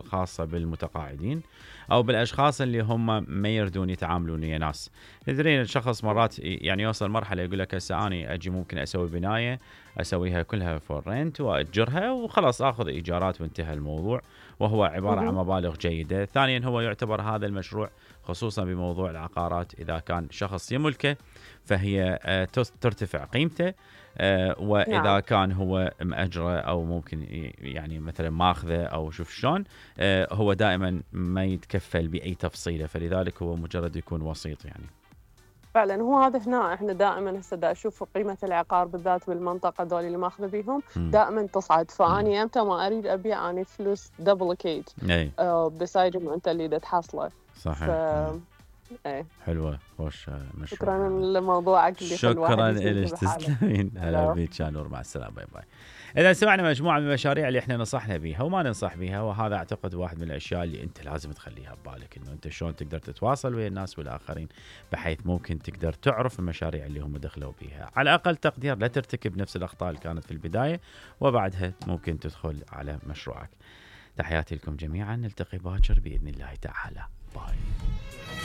خاصة بالمتقاعدين أو بالأشخاص اللي هم ما يردون يتعاملون ويا ناس. تدرين الشخص مرات يعني يوصل مرحلة يقول لك هسه أنا أجي ممكن أسوي بناية أسويها كلها فور رنت وأجرها وخلاص أخذ إيجارات وانتهى الموضوع، وهو عبارة عن مبالغ جيدة. ثانيا هو يعتبر هذا المشروع خصوصا بموضوع العقارات إذا كان شخص يملكه فهي ترتفع قيمته، وإذا كان هو مأجره أو ممكن يعني مثلا ماخذه أو شوف شلون، هو دائما ما يتكفل بأي تفصيلة، فلذلك هو مجرد يكون وسيط يعني. فعلا هو هذا هنا احنا دائما هسه دا اشوف قيمه العقار بالذات بالمنطقه ذول اللي ماخذه بيهم دائما تصعد، فاني امتى ما اريد ابيع اني فلوس دبليكيت بسايد ما انت اللي دا تحصله. صحيح. ايه حلوه خوش مشروع. شكرا لموضوعك اللي شكرا لك، تسلمين. هلا بيك يا نور، مع السلامه، باي باي. إذا سمعنا مجموعة من المشاريع اللي احنا نصحنا بيها وما ننصح بيها، وهذا اعتقد واحد من الاشياء اللي انت لازم تخليها ببالك، انه انت شلون تقدر تتواصل ويا الناس والاخرين بحيث ممكن تقدر تعرف المشاريع اللي هم دخلوا بيها، على اقل تقدير لا ترتكب نفس الاخطاء اللي كانت في البداية وبعدها ممكن تدخل على مشروعك. تحياتي لكم جميعا، نلتقي باكر باذن الله تعالى. باي.